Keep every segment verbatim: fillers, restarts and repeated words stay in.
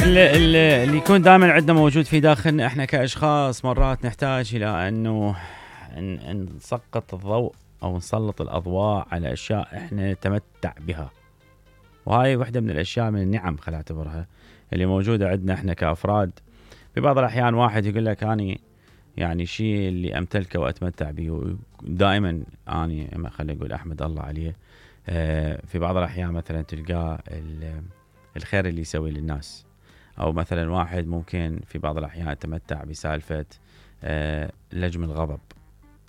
اللي, اللي يكون دائما عندنا موجود في داخلنا احنا كاشخاص مرات نحتاج الى انه نسقط الضوء او نسلط الاضواء على اشياء احنا نتمتع بها، وهاي وحده من الاشياء من النعم خلينا نعتبرها اللي موجوده عندنا احنا كافراد. في بعض الاحيان واحد يقول لك اني يعني شيء اللي امتلكه واتمتع به دائما اني خلينا نقول احمد الله عليه. في بعض الاحيان مثلا تلقاه الخير اللي يسوي للناس، او مثلا واحد ممكن في بعض الاحيان يتمتع بسالفه لجم الغضب،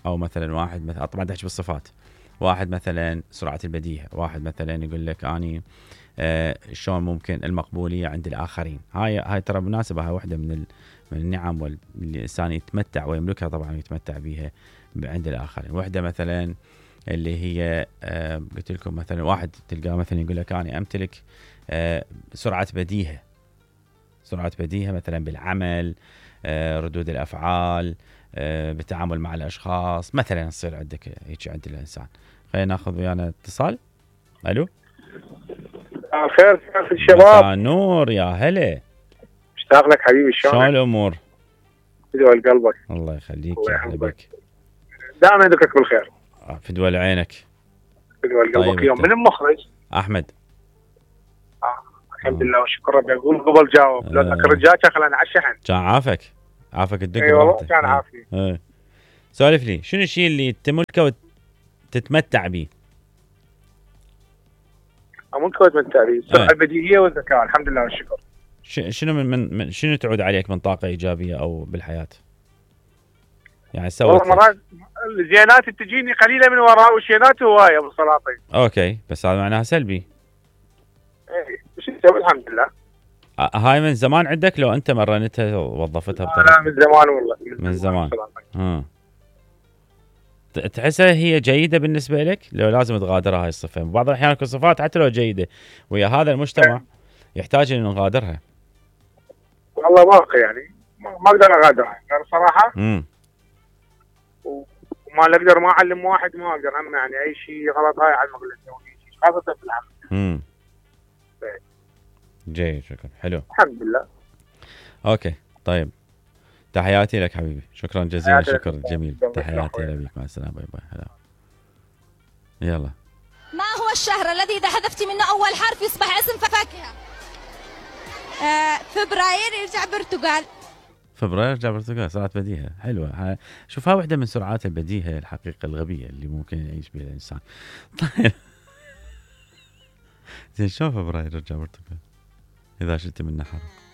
او مثلا واحد مثلا طبعا تحكي بالصفات، واحد مثلا سرعه البديهه، واحد مثلا يقول لك اني شلون ممكن المقبوليه عند الاخرين. هاي هاي ترى مناسبه، هاي واحده من من النعم واللي الانسان يتمتع ويملكها طبعا ويتمتع بها عند الاخرين. وحده مثلا اللي هي قلت لكم مثلا واحد تلقاه مثلا يقول لك اني امتلك سرعه بديهه، سرعه بديهه مثلا بالعمل، ردود الافعال، بالتعامل مع الاشخاص مثلا، يصير عندك هيك عند الانسان. خلينا ناخذ ويانا اتصال. الو خير كيف الشباب؟ مساء نور، يا هلا، مشتاق لك حبيبي. شلونك؟ شلون الامور؟ فدوى قلبك. الله يخليك، يا هلا بك، دائما ذكرك بالخير. فدوى عينك، فدوى قلبك. طيب يوم من المخرج؟ احمد. آه. الحمد لله وشكر ربي. اقول قبل جاوب، لو ذاك الرجال كان خلاني على الشحن. كان عافك عافك الدق. اي والله كان عافي. ايه سولف لي، شنو الشيء اللي تملكه وتتمتع به؟ املكه واتمتع به السرعه البديهيه والذكاء، الحمد لله والشكر. شنو من, من شنو تعود عليك من طاقه ايجابيه او بالحياه؟ يعني سويت والله مرات الزينات تجيني قليله من وراء، والشينات هوايه ابو سلاطين. اوكي، بس هذا معناها سلبي. ايه وش نسوي؟ الحمد لله. هاي من زمان عندك لو انت مرنتها ووظفتها بطريقه؟ لا من زمان والله، من, من زمان. ها تحسها هي جيده بالنسبه لك لو لازم تغادرها هاي الصفه؟ بعض الاحيان تكون صفات حتى لو جيده ويا هذا المجتمع يحتاج ان نغادرها. والله ما يعني ما اقدر اغادرها يعني صراحه. امم وما اقدر ما اعلم واحد، ما اقدر هم يعني اي شيء غلط هاي على المقلة شيء خاصه في العمل. امم جيد، شكرا، حلو الحمد لله. اوكي طيب، تحياتي لك حبيبي، شكرا جزيلا، شكرا جميل، تحياتي لك، مع السلامه، باي باي. هلا يلا. ما هو الشهر الذي اذا حذفت منه اول حرف يصبح اسم فاكهه؟ آه فبراير يرجع برتقال. فبراير يرجع برتقال، سرعه بديهه حلوه. شوفها واحده من سرعات البديهه الحقيقه الغبيه اللي ممكن يعيش بها الانسان. طيب زين، شلون فبراير يرجع برتقال اذا شلت منه حرف؟